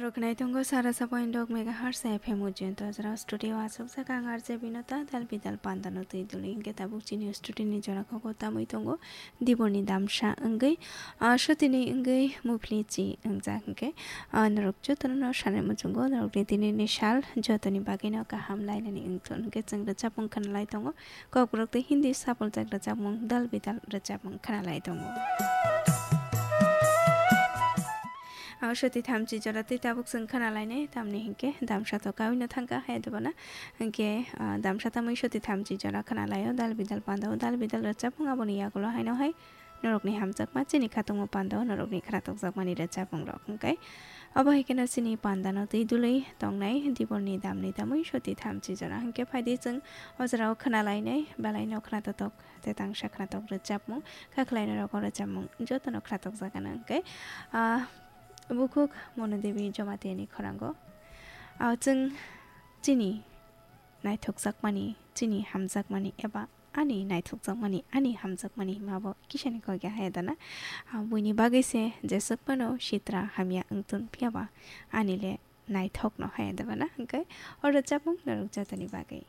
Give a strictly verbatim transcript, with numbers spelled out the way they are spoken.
Roknai tongo sara sabo indok megahertz F M ujento jora studio aswk saka ang R J Binota dal bidal pandano twi duli hinkhe tabuk chini studio ni jora koko tamwi tongo Diborni damsa wngwi, ah, sotini wngwi muphli chi wngjak hinkhe, ah, norok jotono no sanai muchungo norokni tini ni sal jotoni bagwi no kaham lainani wngthun hinkhe chwng rwchapmung khwnalai tongo. Kokborok tei Hindi sapuljak rwchapmung dal bidal rwchapmung khwnalai tongo. Ah, soti thamchi jora tei tabuk chwng khwnalainai, tamni hinkhe damsa to kawino thangkha hai debana. Hinkhe, ah, damsa tamwi soti thamchi jora khwnalaio, dal bidal pandao, dal bidal rwchapmung aboni yagulo haino hai norokni hamjakma chini khatungma pandao norokni khwnathokjakmani rwchapmungrok hinkhe. Obo hai kheno chini pandano twi dului tongnai Diborni damni tamwi soti thamchi jora hinkhe phaidi chwng o jorao khwnalainai belaino khwnathotok. Tei tangsa khwnathok rwchapmung, kha khwlainai rogo rwchapmung jotono khwnathokjakgana hinkhe, ah, bukhuk Monodebi Jamatia ni khorango. Ah, chwng chini naithokjakmani, chini hamjakmani eba ani naithokjakmani, ani hamjakmani himabo kisani kok ya haya dana. Ah, buini bagwi se jeswk phano sitra hamya wngtun phiyaba ani le naithokno haya dana hinkhe o rwchapmung norok jotoni bagwi.